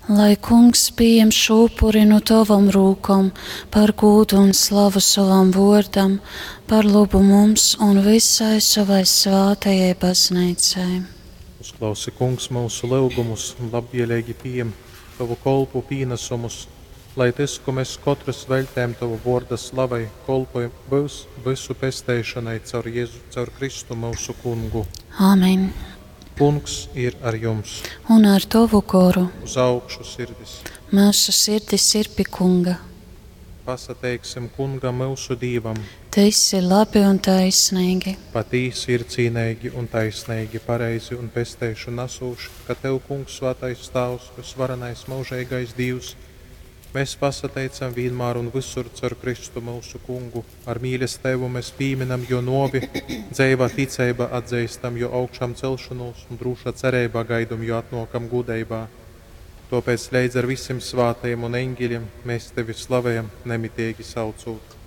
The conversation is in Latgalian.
Lai kungs pieņem šo upuri no tavam rūkom par gūdu un slavu savam vōrdam, par labu mums un visai savai svātajai baznīcai. Uzklausi, Kungs, myusu lyugumus un labvieleigi pījem tovu kolpu pīnasumus, lai tys, kū mes kotrys veļtejam tova vōrda slavai, kolpoj byus vysu pesteišonai caur Jezu, caur Kristu myusu Kungu. Āmen. Kungs ir ar jums. Un ar tovu goru. Uz augšu sirdis. Myusu sirdis ir pi Kunga. Pasateiksim Kungam myusu Dīvam. Tys ir labi un taisnīgi. Patīsi ir cīneigi un taisneigi, pareizi un pesteišonu nasūši, ka Tev, Kungs, svātais Tāvs, vysvarenais myužeigais Dīvs, mes pasateicam vīnmār un vysur caur Kristu myusu Kungu. Ar mīlesteibu mes pīminam Jō nōvi, dzeivā ticeibā atzeistam Jō augšamceļšonūs un drūšā cereibā gaidom Jō atnōkam gūdeibā. Tōpēc leidz ar visim svātajim un eņgelim mēs Tevi slavejam, nemiteigi saucūt.